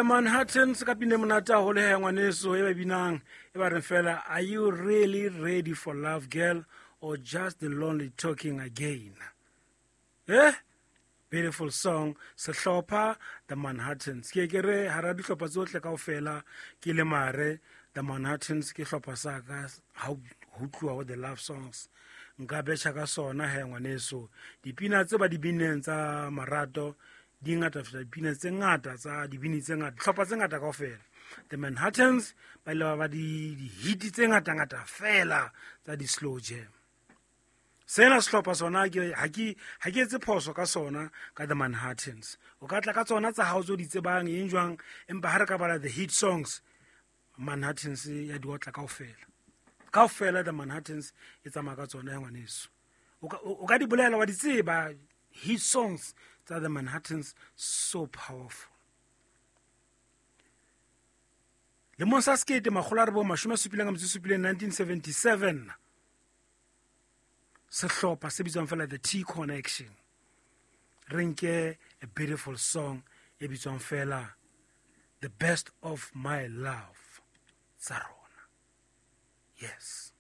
Manhattan se ka pine monate haholo he ngwaneso e ba binang e ba reng fela, "Are you really ready for love, girl, or just the lonely talking again?" Beautiful song, sehlopha The Manhattans. Ke ke re hara dihlopha tsohle kaofela ke le mare The Manhattans ke hlopha sa ka ha ho tluwa ho the love songs. Nka betjha ka sona he ngwaneso. Dipina tse ba di bineng tsa marato di ngata feta dipina tse ngata tsa dibini tse ngata, hlopha tse ngata kaofela. The Manhattans ba ile ba ba di-hit tse ngata-ngata fela tsa di-slow jam. Sena sehlopha sona ke ha ke etse phoso ka sona, ka The Manhattans. O ka tla ka tsona tsa hao tse o di tsebang eng jwang, empa ha re ka bala the hit songs, Manhattans ya di otla kaofela kaofela. The Manhattans e tsamaya ka tsona ya ngwaneso. O ka di bolela wa di tseba hit songs tsa The Manhattans, so powerful. Lemong sa 1977, 1977, sehlopha se bitswang fela The T Connection. Re nke a beautiful song e bitswang fela "The Best of My Love" tsa rona. Yes.